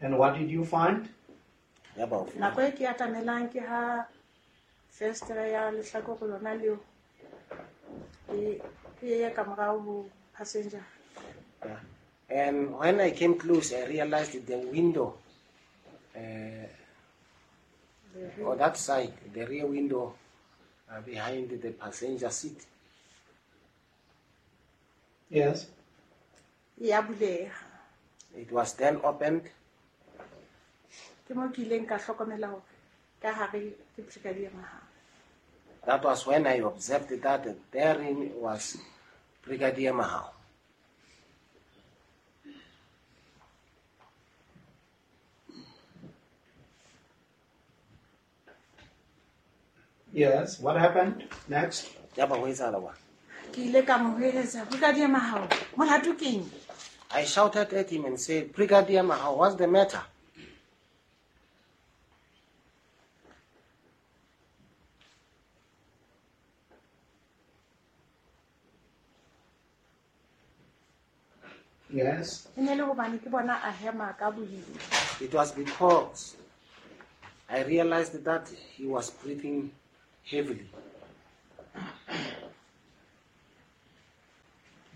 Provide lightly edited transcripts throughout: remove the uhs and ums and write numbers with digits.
And what did you find? Yaba o Nako e ke atamelang ke ha festere ya lehlakore lona leo e e ye ka morao ho passenger. Yeah. And when I came close, I realized that the window on that side, the rear window behind the passenger seat, Yes. E ya buleha. it was then opened. Ke mo ke ileng ka hlokomela hore ka hare ke Brigadier Mahao. That was when I observed that therein was Brigadier Mahao. Yes. What happened next? Yaba ho etsahala wa? Ke ile ka mo hweletsa, Brigadier Mahao, molato keng? I shouted at him and said, Brigadier Mahao, what's the matter? Yes. E ne le hobane ke bona a hema ka boima. It was because I realized that he was breathing heavily.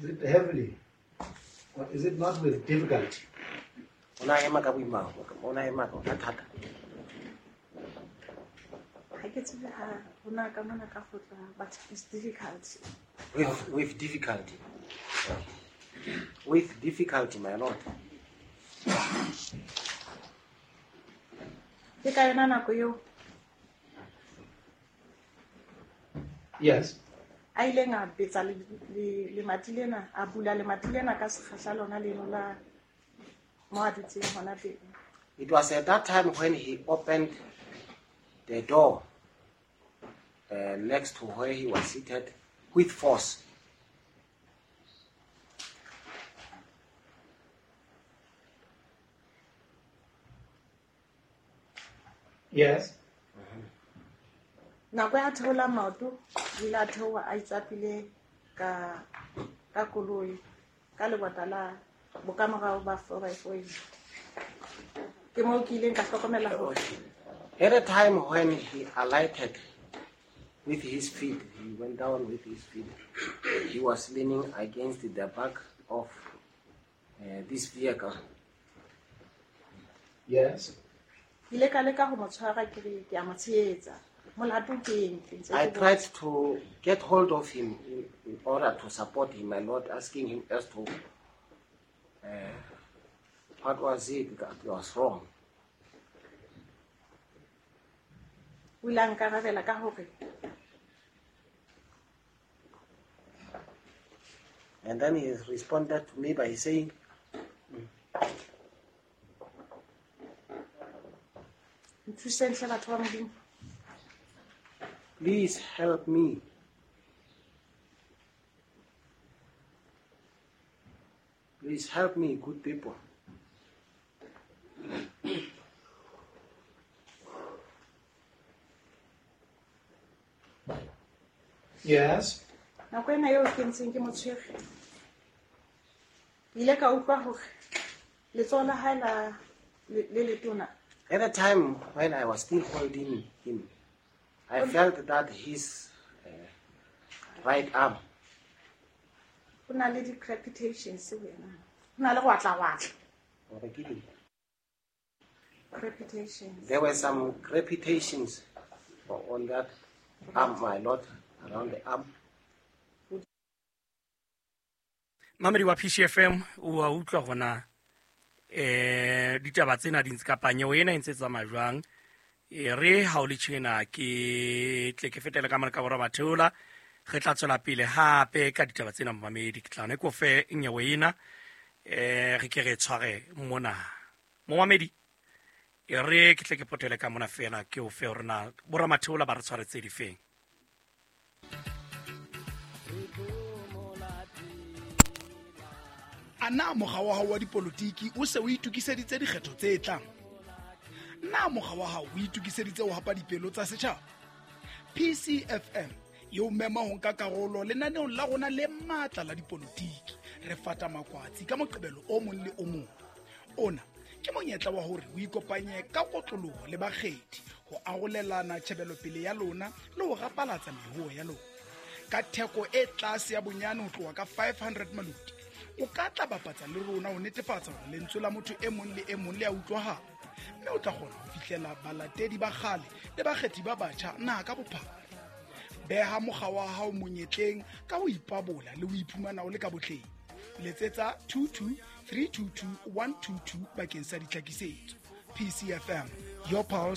Is it heavily? Or is it not with difficulty? O na hema ka boima, o na hema ka thata. Ha ke tsebe ha hona ka mona ka kgotla, but it's difficult. With difficulty. With difficulty, my lord. Ke ka yona nako eo Yes. a ileng a betsa lemati lena, a bula lemati lena ka sekgahla lona leno la mo a dutseng hona teng. It was at that time when he opened the door next to where he was seated with force. Yes. Nako ya theola maoto, o ile a theoha a itsapile ka koloi, ka lebota la bokamorao ba four by four ena. Ke moo ke ileng ka hlokomela hore At a time when he alighted with his feet, he went down with his feet. He was leaning against the back of this vehicle. Yes. Ke ile ka leka ho mo tshwara ke re ke a mo tshehetsa. Molato ke eng? Ke ntse I ke tried botsa. to get hold of him in order to support him, my lord, asking him as to what was it that was wrong. O ile a nkarabela ka hore And then he responded to me by saying, Nthuseng hle batho ba Modimo. Please help me. Please help me, good people. Yes. Nako ena eo ke ntseng ke mo tshwere, ke ile ka utlwa hore letsoho la hae la le letona. At the time when I was still holding him, I felt that his right arm. Ho na le di-crepitations ho yena. Ho na le go atla-watla. Hore ke eng? Crepitations. There were some crepitations on that arm, my lord, around the arm. Mamedi wa PCFM, o a utlwa hore na, ditaba tsena di ntse kapa nyewe ena e ntse e tsamaya jwang. E re ha o le tjena ke tle ke fetele ka mona ka borwa Matheola, re tla tswela pele hape ka ditaba tsena momamedi. Ke tla ne ke o fe nyewe ena, re ke re tshware mona. Momamedi, e re ke tle ke potele ka mona fela ke o fe hore na borwa Matheola ba re tshwaretse difeng. A na mokga wa hao wa dipolotiki o se o itokiseditse dikgetho tse tlang? Na mokga wa hao o itokiseditse ho hapa dipelo tsa setjhaba? PCFM e o mema ho nka karolo lenaneong la rona le matla la dipolotiki. Re fata makwatsi ka Moqebelo o mong le o mong. Ona Ke monyetla wa hore o ikopanye ka kotloloho le bakgethi ho arolelana tjhebelopele ya lona le ho rapalatsa mehoo ya lona. Ka theko e tlase ya bonyane ho tloha ka 500 maloti, o ka tla bapatsa le rona ho netefatsa hore lentswe la motho e mong le e mong le a utlwahala, mme o tla kgona ho fihlela balatedi ba kgale le bakgethi ba batjha naha ka bophara. Beha mokga wa hao monyetleng ka ho ipabola le ho iphumana o le ka botleng. Letsetsa 22 322 122 bakeng sa ditlhakisetso. PCFM, your pulse.